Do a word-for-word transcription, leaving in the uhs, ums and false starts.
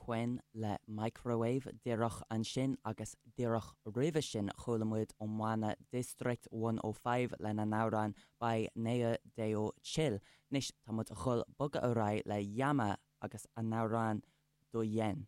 Quen le Microwave díreach ansin agus díreach roimhe sin chuala muid ón mbanna District one oh five lena n-amhrán Bai Nea Deo Chill. Anois tá muid chun bogadh ar aghaidh le Yama agus a n-amhrán Do Yen.